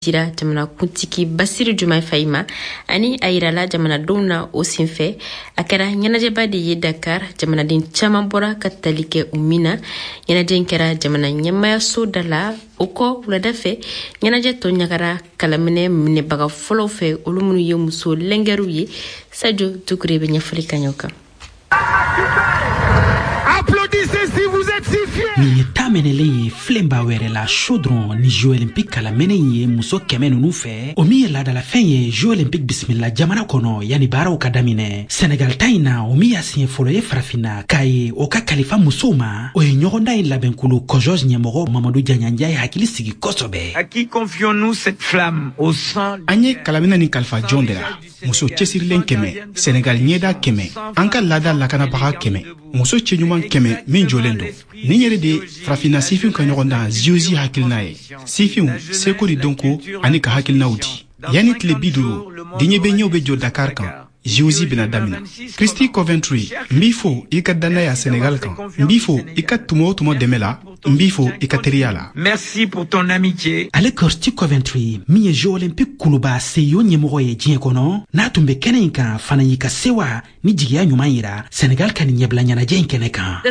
Dira jamanakuntigi Basiru Jomayi Fayi ma ani a yirala jamanadenw na o senfɛ. A kɛra ɲɛnajɛba de ye Dakar, jamanaden caman bɔra ka tali kɛ u min na. Ɲɛnajɛ in kɛra jamana ɲɛmayaso da la. O kɔ, wulada fɛ, ɲɛnajɛ tɔ ɲagara kalaminɛ minɛbaga fɔlɔw fɛ, olu minnu ye muso lɛngɛriw ye. Sajo Dukure bɛ ɲɛfɔli ka ɲɛ o kan. Nin ye ta mɛnɛlen ye filenba wɛrɛ la chaudron ni Jeux olympique kalamɛnɛ in ye muso 100 nunu fɛ, o min ye laadalafɛn ye Jeux olympique bisimila jamana kɔnɔ yanni baaraw ka daminɛ. Senegal ta in na, o min y'a siɲɛ fɔlɔ ye Farafinna k'a ye o ka kalifa musow ma, o ye ɲɔgɔndan in labɛnkulu COJOJ ɲɛmɔgɔ Mamadu Jaɲanja ye hakili sigi kosɛbɛ. À qui confions-nous cette flamme au sang? An ye kalaminɛ nin kalifa jɔn de la? Muso cɛsirilen 100, Senegal ɲɛda 100, an ka laada lakanabaga 100, muso cɛɲuman 100 min jɔlen don. Nin yɛrɛ de Farafinna sifinw ka ɲɔgɔndan JOJ hakilina ye. Sifinw seko ni dɔnko ani ka hakilinaw di. Yanni tile 50, diɲɛ bɛ ɲɛw bɛ jɔ Dakar kan. JOJ bɛna damina. Christy Coventry, n b'i fo i ka dannaya Senegal kan. N b'i fo i ka tuma o tuma dɛmɛ la. N b'i fo i ka teriya la. Merci pour ton amitié. Ale Kirsty Coventry, min ye Jeux olympique kuluba CIO ɲɛmɔgɔ ye diɲɛ kɔnɔ, n'a tun bɛ kɛnɛ in kan fana, y'i ka sewa ni jigiya ɲuman yira Senegal ka nin ɲɛbila ɲɛnajɛ in kɛnɛ kan.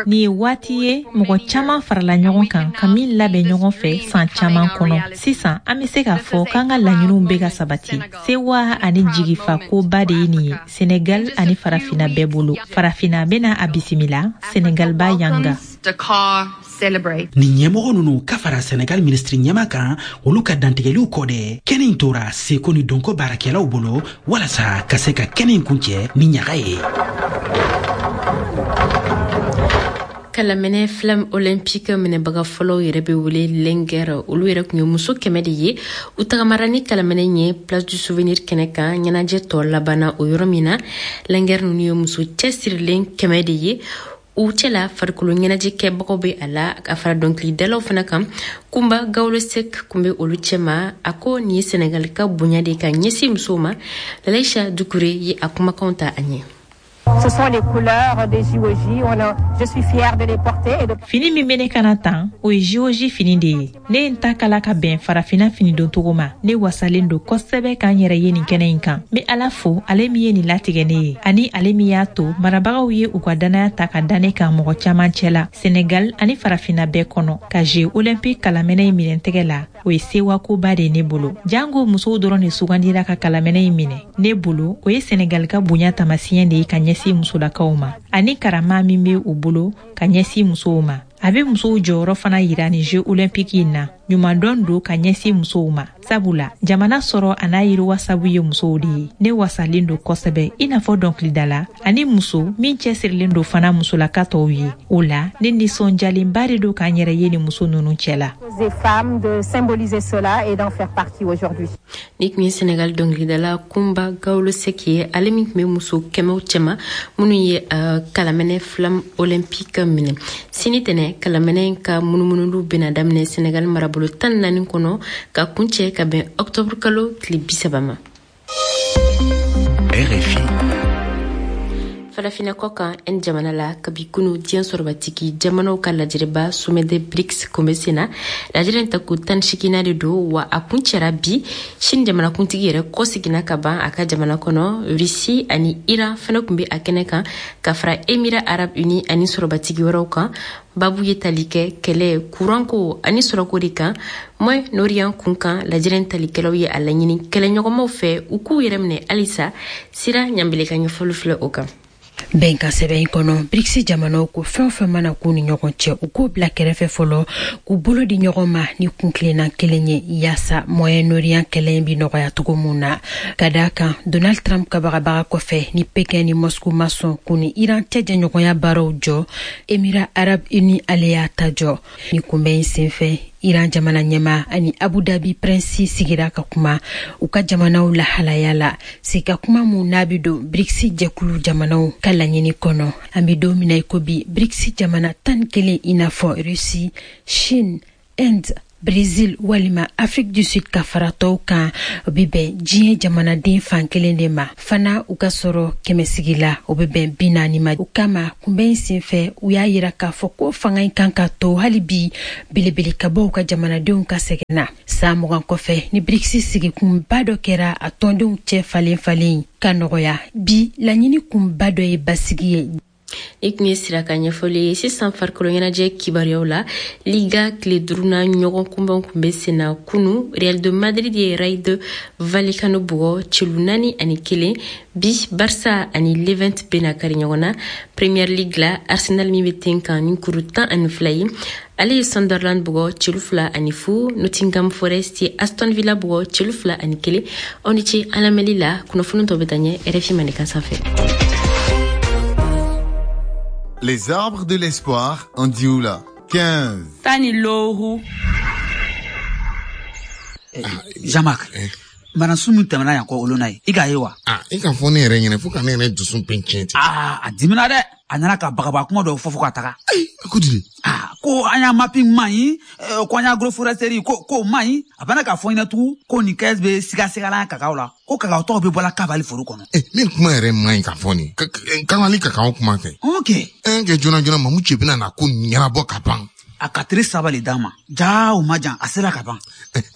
Nin ye waati ye mɔgɔ caman farala ɲɔgɔn kan ka min labɛn ɲɔgɔn fɛ san caman kɔnɔ. Sisan an bɛ se k'a fɔ k'an ka laɲiniw bɛ ka sabati. Sewa ani jigifa koba de ye nin ye Senegal ani Farafina bɛɛ bolo. Farafina bɛna a bisimila, Senegal b'a yanga. Nin ɲɛmɔgɔ nunu ka fara Senegal minisiri ɲɛma kan, olu ka dantigɛliw kɔ dɛ, kɛnɛ in tora seko ni dɔnko baarakɛlaw bolo walasa ka se ka kɛnɛ in kuncɛ ni ɲaga ye. Kalaminɛ flamme olympique minɛbaga fɔlɔw yɛrɛ bɛ wele lɛngɛr. Olu yɛrɛ tun ye muso 100 de ye. U tagamara ni kalaminɛ ye Place du Souvenir kɛnɛ kan, ɲɛnajɛ tɔ labanna o yɔrɔ min na. Lɛngɛr ninnu ye muso cɛsirilen 100 de ye. U cɛla, farikolo ɲɛnajɛkɛbagaw bɛ a la, ka fara dɔnkilidalaw fana kan. Kunba Gawlo Sek kun bɛ olu cɛma. A ko nin ye Senegali ka bonya de ka ɲɛsin musow ma. Lalaisha Dukure ye a kumakanw ta a ɲɛ. Ce sont les couleurs des JOJ. On a, je suis fière de les porter. Et de. Fini min bɛ ne kana tan, o ye JOJ fini de ye. Ne ye n ta kala ka bɛn Farafinna fini don cogo ma. Ne wasalen don kosɛbɛ k'an yɛrɛ ye nin kɛnɛ in kan. N bɛ Ala fo, ale min ye nin latigɛ ne ye, ani ale min y'a to marabagaw ye u ka dannaya ta ka da ne kan mɔgɔ caman cɛ la, Senegal ani Farafinna bɛɛ kɔnɔ. Ka Jeux olympique kalaminɛ in minɛ tɛgɛ la, o ye sewakoba de ye ne bolo. Jango musow dɔrɔn de sugandira ka kalaminɛ in minɛ ne bolo, o ye Senegal ka bonya taamasiyɛn de ye ka ɲɛsin musolakaw ma, ani karama min bɛ u bolo ka ɲɛsin musow ma. A bɛ musow jɔyɔrɔ fana yira ni Jeux olympique in na. Ɲumandɔn don ka ɲɛsin musow ma, sabula jamana sɔrɔ a n'a yiriwa sabu ye musow de ye. Ne wasalen don kosɛbɛ i n'a fɔ dɔnkilidala ani muso min cɛsirilen don fana musolaka tɔw ye. O la, ne nisɔndiyalenba de don k'an yɛrɛ ye ni muso ninnu cɛ la. Des femmes de symboliser cela et d'en faire partie aujourd'hui. Ni tun ye Senegal dɔnkilidala Kunba Gawlo Sek ye, ale min tun bɛ muso kɛmɛw cɛma minnu ye kalaminɛ flamme olympique minɛ. Sini tɛnɛ, kalaminɛ ka munumunulu bɛna daminɛ Senegal marabolo 14 kɔnɔ ka kuncɛ ka bɛn octobre kalo tile 30 ma. RFI. Farafinna kɔ kan, Inde jamana la, kabi kunu, diɲɛ sɔrɔbatigi jamanaw ka lajɛrɛba sommet des BRICS kun bɛ sen na. Lajɛrɛ in tako 18nan de don wa a kun cɛra bi. Chine jamanakuntigi yɛrɛ kɔseginna ka ban a ka jamana kɔnɔ. Russie ani Iran fana kun bɛ a kɛnɛ kan, ka fara Émirats arabes unis ani sɔrɔbatigi wɛrɛw kan. Babu ye tali kɛ kɛlɛ, kuranko ani sɔrɔko de kan Moyen Orient kun kan. Lajɛrɛ in talikɛlaw ye a laɲini kɛlɛɲɔgɔnmaw fɛ u k'u yɛrɛ minɛ halisa. Sira Ɲanbele ka ɲɛfɔli filɛ o kan. Bɛnkan sɛbɛn in kɔnɔ, BRICS jamanaw ko fɛn o fɛn mana k'u ni ɲɔgɔn cɛ, u k'o bila kɛrɛfɛ fɔlɔ, k'u bolo di ɲɔgɔn ma ni kuntilenna kelen ye, yaasa Moyen Orient kɛlɛ in bi nɔgɔya cogo mun na. Ka daa kan Donald Trump ka bagabaga kɔfɛ ni Pekin ni Moscou ma sɔn k'u ni Iran cɛ jɛɲɔgɔnya baaraw jɔ, Émirats arabes unis ale y'a ta jɔ. Ni kunbɛn in senfɛ, Iran jamana ɲɛma ani Abu Dhabi prince sigira ka kuma u ka jamanaw lahalaya la, sigi kuma mun n'a bi don BRICS jɛkulu jamanaw ka laɲini kɔnɔ. An bi don min na i ko bi, BRICS jamana 11, i n'a fɔ Russie, Chine, Inde, Brésil walima Afrique du Sud ka fara tɔw kan, o bɛ bɛn diɲɛ jamanaden fan kelen de ma. Fana u ka sɔrɔ kɛmɛsigi la, o bɛ bɛn 40 ma. O kama kunbɛn in senfɛ, u y'a yira k'a fɔ ko fanga in kan ka to hali bi belebele ka bɔ u ka jamanadenw ka sɛgɛn na. San 20 kɔfɛ ni BRICS sigikunba dɔ kɛra a tɔndenw cɛ falen falen ka nɔgɔya, bi laɲini kunba dɔ ye basigi ye. I tun ye sira ka ɲɛfɔli ye. Sisan farikolo ɲɛnajɛ kibaruyaw la, Liga tile duurunan ɲɔgɔn kunbɛn tun bɛ sen na kunu. Real de Madrid ye Rayo Vallecano bugɔ celu 4-1. Bi Barça ani Levante bɛna kari ɲɔgɔn na. Premier League la, Arsenal min bɛ ten kan ni kuru 12 ye, ale ye Sunderland bugɔ celu 2-0. Nottingham Forest ye Aston Villa bugɔ celu 2-1. Aw ni ce an lamɛnli la. Kunnafoni tɔ bɛ taa ɲɛ RFI Mandenkan sanfɛ. Les arbres de l'espoir en Dioula. 15. Tani loru. Jean-Marc, banasun min tɛmɛna yan kɔ olu na ye, i k'a ye wa? I ka fɔ ne yɛrɛ ɲɛna fo ka ne yɛrɛ dusu bɛn tiɲɛ ten. A dimina dɛ. A nana ka bagaba kuma dɔw fɔ fo ka taga. Ayi, a ko di? Ko an y'a mapping man ɲi, ko an y'a agroforesterie ko man ɲi. A bana k'a fɔ ɲɛna tugun ko nin kɛs bɛ sigasigala kakaw la, ko kakaw tɔgɔ bɛ bɔla kabali foro kɔnɔ. Min kuma yɛrɛ man ɲi ka fɔ nin. Kabali kakaw kuma tɛ. Ok. Kɛ joona joona Mamu cɛ bɛna na ko ɲɛnabɔ ka ban. A ka teri saba le d'a ma. Jaa o ma jan, a sera ka ban.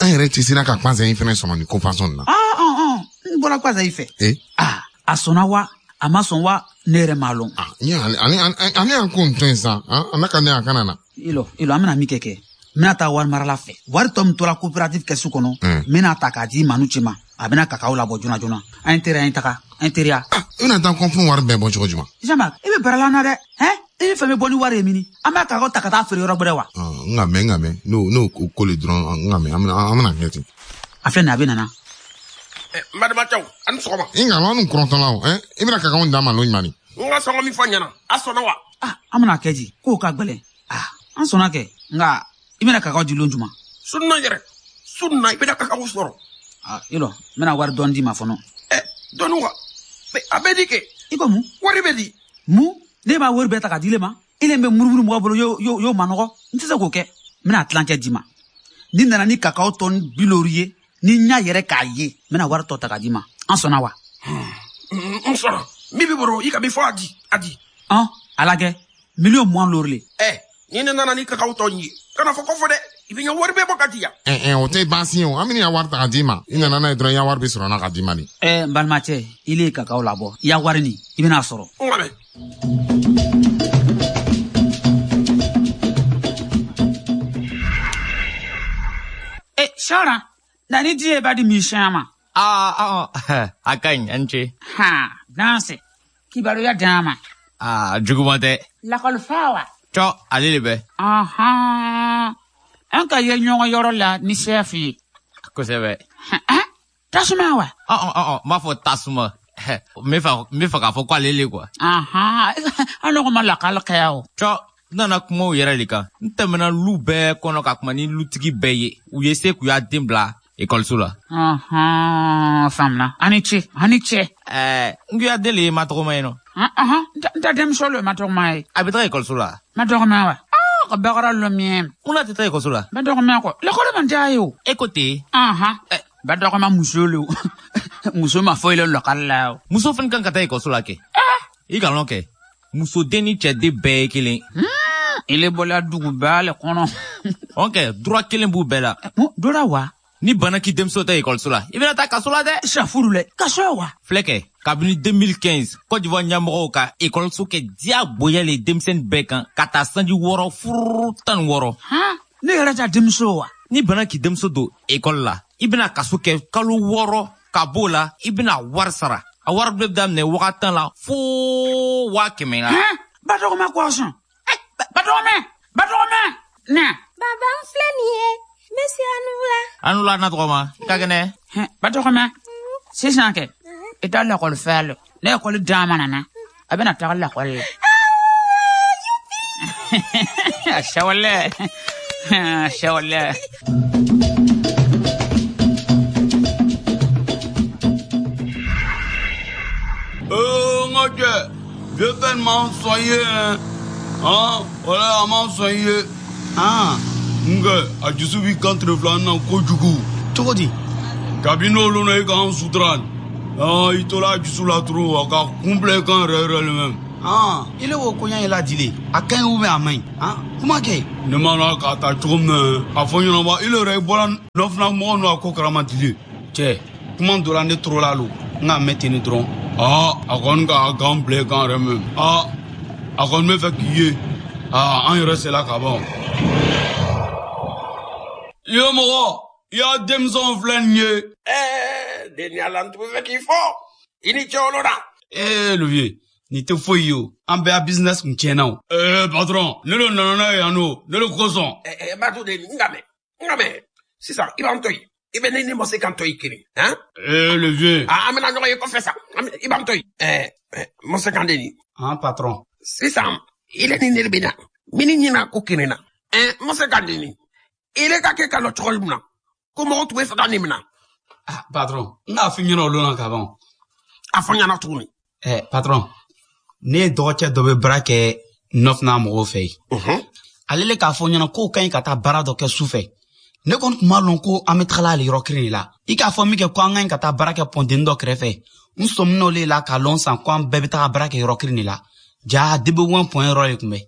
An yɛrɛ tɛ sera ka kpanzɛ in fɛnɛ sɔrɔ nin ko fasɔn na. N bɔra kpanzɛ in fɛ. A sɔnna wa? A ma sɔn wa? Ne yɛrɛ m'a lɔn. Ale y'an ko n to yen sa, a n'a ka ne a kana na. Ilo, an bɛna min kɛ, n bɛna taa wari marala fɛ. Wari tɔ min tora coopérative kɛsu kɔnɔ, n bɛna ta k'a di Manu cɛ ma. A bɛna kakaw labɔ joona joona. An ye teriya, an ye taga, an ye teriya. I bɛna taa kɔnfin wari bɛɛ bɔ cogo jumɛn? Jean-Marc, i bɛ baara la na dɛ, hɛn? I bɛ fɛn bɛ bɔ ni wari ye mini? An b'a kakaw ta ka taa feere yɔrɔ gbɛrɛ wa? N ka mɛn n'o ko le dɔrɔn, n ka mɛn, an bɛna kɛ ten. A filɛ nin ye, a bɛ nana. N balimacɛw, a ni sɔgɔma. I nka an kɔrɔtɔla o, i bɛna kakaw d'a ma lon jumɛn ni? N ka sɔngɔ min fɔ ɲɛna, a sɔnna wa? An bɛna kɛ di, k'o ka gɛlɛn. An sɔnna kɛ, nka i bɛna kakaw di lon jumɛn? Sunna yɛrɛ, sunna i bɛna kakaw sɔrɔ. Ilo, n bɛna wari dɔɔni d'i ma fɔlɔ. Dɔɔni wa? A bɛ di kɛ. I ko mun? Wari bɛ di. Mun? Ne b'a wari bɛɛ ta k'a di ile ma? Ile bɛ murumuru mɔgɔ bolo, y'o ma nɔgɔ. N tɛ se k'o kɛ. N bɛna tilancɛ d'i ma. Ni nana ni kakaw tɔni 50 ye, ni n y'a yɛrɛ k'a ye, n bɛna wari tɔ ta k'a d'i ma. An sɔnna wa? N sɔnna. Min b'i bolo, i ka min fɔ a di, a di. A lajɛ, 20 000 000 le. Ni ne nana ni kakaw tɔ ye, kana fɔ kɔfɛ dɛ, i bɛ n ka wari bɛɛ bɔ ka di yan. O tɛ baasi ye o, an bɛna wari ta ka d'i ma. I nana n'a ye dɔrɔn, i ya wari bɛ sɔrɔ n na ka d'i ma de. N balimacɛ, i le ye kakaw labɔ, i ya wari nin, i bɛna sɔrɔ. N ka mɛn. Sara, na ni diɲɛ b'a di misɛnya ma. A ka ɲi, an ce. Danse, kibaruya d'an ma. Juguman tɛ. Lakɔlifa wa? Cɔ, ale de bɛ. An ka ye ɲɔgɔn yɔrɔ la ni sɛfu ye. Kosɛbɛ. Tasuma wa? N b'a fɔ tasuma. N bɛ fɛ k'a fɔ ko ale le quoi. An nɔgɔ ma lakali kɛ o. Cɔ, n nana kuma o yɛrɛ de kan. N tɛmɛna lu bɛɛ kɔnɔ ka kuma ni lutigi bɛɛ ye. U ye se k'u y'a den bila ekɔliso la. Faamuna. A ni ce, a ni ce. N ko ya den le ye matɔgɔma ye nɔ. N ta denmuso le matɔgɔma ye. A bɛ taga ekɔliso la. Matɔgɔma wa? Ka bakara lɔ miɛ. Mun na tɛ taa ekɔliso la? Batɔgɔma kɔ. Lekɔli man diya ye o. E ko ten? Batɔgɔma muso le o. Muso ma foyi le lɔkali la o. Muso fana kan ka taa ekɔliso la kɛ. I ka lɔn kɛ. Musoden ni cɛden bɛɛ ye kelen. Ile bɔla duguba le kɔnɔ. Ok, droit kelen b'u bɛɛ la. Droit wa? Ni bana k'i denmuso tɛ ekɔliso la, i bɛna taa kaso la dɛ. Safuru lɛ, kaso wa? Filɛ kɛ, kabini 2015, Côte d'Ivoire ɲɛmɔgɔw ka ekɔliso kɛ diyagoya le denmisɛnnin bɛɛ kan ka taa sanji 6 furu 16. Ne yɛrɛ ta denmuso wa? Ni bana k'i denmuso don ekɔli la, i bɛna kaso kɛ kalo 6 ka b'o la, i bɛna wari sara. A wari bɛ daminɛ 10 000 la fo 100 000 la. Batɔgɔma kɔsɔn. Batɔgɔmɛ, batɔgɔmɛ, na. Baba, n filɛ nin ye. N bɛ se Anula. Anula na tɔgɔma, i ka kɛnɛ. Batɔgɔmɛ, sisan kɛ, i taa lakɔli fɛ la. Ne ekɔli d'a ma nana, a bɛna taga lakɔli la. A sɛwale, a sɛwale. N ka cɛ, vieux fɛn m'an sɔn ye. Hein, voilà, a m'an sɔn ye. Nkɛ, a dusu b'i kan tile filanan na kojugu. Cogo di? Kabi n'olu na i k'an sutura i tola a dusu la trop, a ka kun bila i kan yɛrɛ yɛrɛ le même. Ile wo koɲa ye ladile a ka ɲi ou bien a man ɲi? Kuma kɛ. Ne ma na k'a ta cogo min na, a fɔ ɲɛna ile yɛrɛ i bɔra nɔfina mɔgɔ ninnu a ko karama dile. Cɛ, kuma dɔ la ne toro la lo, n k'a mɛn ten dɔrɔn. A kɔni ka gan bila i kan yɛrɛ même. A kɔni bɛ fɛ k'i ye. An yɛrɛ sela ka ban. I ye mɔgɔ, i y'a denmisɛnw filɛ nin ye. Ɛɛ, deni ala n tun bɛ fɛ k'i fɔ. I ni ce olu la. Ee, le vieux, nin tɛ foyi ye o. An bɛɛ ya business kun tiɲɛna o. Ee, patron, ne de nana n'a ye yan nɔ, ne de kosɔn. Ɛɛ, b'a to deni, n ka mɛn. Sisan, i b'an to yen. I bɛ ne ni Mɔse kan to yen kelen. Han? Ee, le vieux. An bɛna ɲɔgɔn ye kɔfɛ sa. I b'an to yen. Ɛɛ, Mɔse kan deni. Han, patron. Sisan, ile ni ne de bɛ na. Min ɲina ko kelen na. Ɛɛ, Mɔse kan deni. Ile ka kɛ ka lɔ cogo min na, ko mɔgɔ tun bɛ fɛ ka nin minɛ. Ah, patron, n k'a f'i ɲɛna o don na ka ban. A fɔ n ɲɛna tuguni. Ɛ, patron, ne ye dɔgɔcɛ dɔ bɛ baara kɛ nɔfina mɔgɔw fɛ yen. Ale le k'a fɔ n ɲɛna k'o ka ɲi ka taa baara dɔ kɛ su fɛ. Ne kɔni tun b'a lɔn ko an bɛ tagala ale yɔrɔ kelen de la. I k'a fɔ min kɛ ko an ka ɲi ka taa baara kɛ pɔnteni dɔ kɛrɛfɛ. N sɔmina o le la k'a lɔn san ko an bɛɛ bɛ taga baara kɛ yɔrɔ kelen de la. Ja DB1 pɔn yɔrɔ de tun bɛ.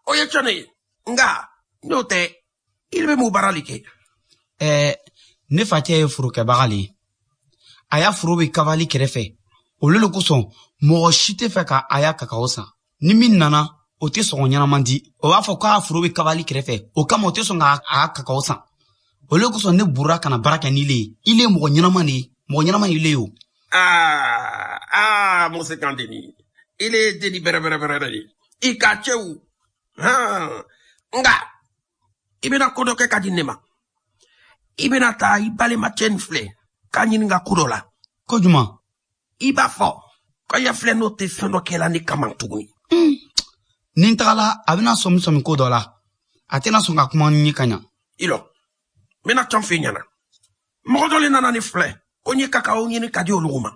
O ye tiɲɛ ye. Nka n'o tɛ, i bɛ mun baara de kɛ? Ɛɛ, ne facɛ ye forokɛbaga le ye. A y'a foro bɛ kavali kɛrɛfɛ. Olu le kosɔn mɔgɔ si tɛ fɛ ka a y'a kakao san. Ni min nana, o tɛ sɔngɔ ɲɛnama di. O b'a fɔ k'a foro bɛ kavali kɛrɛfɛ. O kama o tɛ sɔn k'a a kakao san. Olu le kosɔn ne burura ka na baara kɛ n'ile ye. Ile ye mɔgɔ ɲɛnama de ye. Mɔgɔ ɲɛnama ye ile ye o. Mɔse kan deni. Ile ye deni bɛrɛ bɛrɛ bɛrɛ de ye. I ka cɛw. Nka, i bɛna ko dɔ kɛ ka di ne ma. I bɛna taa i balimacɛ nin filɛ k'a ɲininka ko dɔ la. Ko jumɛn? I b'a fɔ ko ya filɛ n'o tɛ fɛn dɔ kɛla ne kama tuguni. Ni n tagala, a bɛna sɔmi sɔmi ko dɔ la. A tɛna sɔn ka kuma ni ka ɲa. I lɔ, n bɛna cɔn f'i ɲɛna. Mɔgɔ dɔ le nana ne filɛ ko n ye kakao ɲini ka di olu ma.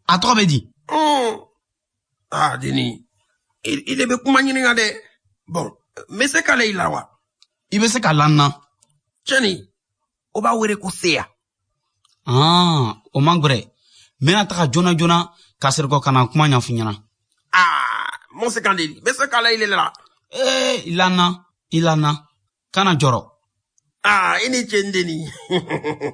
A tɔgɔ bɛ di? Deni, i de bɛ kuma ɲininka dɛ. Bɔn, n bɛ se k'ale i la wa? I bɛ se ka la n na. Cɛni, o b'a wele ko seya. O man gbɛrɛ. N bɛna taga joona joona ka seri kɔ ka na kuma ɲɛf'i ɲɛna. Mɔse kan deni, n bɛ se k'ale i la. Ee, i la n na, i la n na. Kana jɔrɔ. I ni ce n deni.